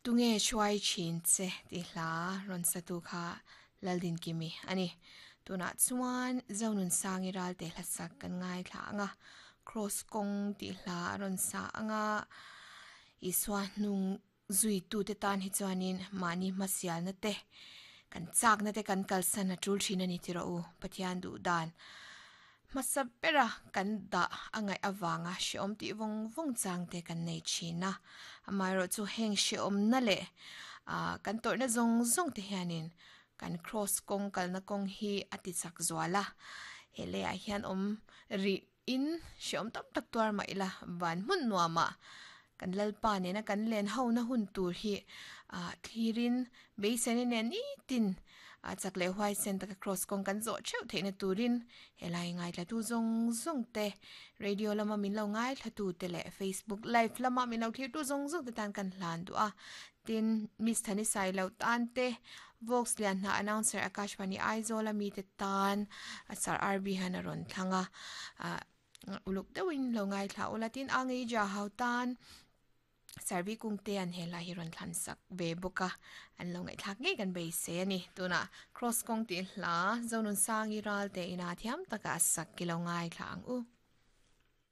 Tunge hruai thin che tih hla rawn satu kha Laldinkimi a ni. Tunah chuan Zonunsangi Ralte hlasak kan ngaithla ang a, Kraws kawng tih hla a rawn sa ang a, Isua hnung zuitute tan hi chuanin mahni hmasialna te, kan chakna te kan kalsan a tul thin a ni tih rawh u, Pathian duh dan. Hmasa bera kan dah a ngaih avanga hrehawm tih vawng vawng chang te kan nei thin a, amaherawhchu heng hrehawmna leh kan tawrhna zawng zawng te hianin kan kraws kawng kalna kawng hi a ti chak zual a, he leiah hian awm rih in hrehawm tam tak tuar mah ila van hmun nuamah kan Lalpa nena kan len hona hun tur hi thlirin beiseina nen nitin A chak leh huaisen taka cross kawng kan zawh theuh theihna turin helai ngaithlatu zawng zawng te, radio lama min lo ngaithlatu te leh Facebook live lama min lo thlirtu zawng zawng te tan kan hlan duh a. Tin, Miss Thani Sailo tan te, Vox Lianhna announcer Akashvani Aizawl a mite tan Sir RB hian a rawn thlang a. Uluk deuhin lo ngaithla ula tin a ngei ja hau tan Sarvi kungte an he hla hi rawn thlan sak ve bawk a, an lo ngaihthlak ngei kan beisei a ni. Tunah Cross kawng tih hla Zonunsangi Ralte ina thiam taka a sak ki lo ngaithla ang u.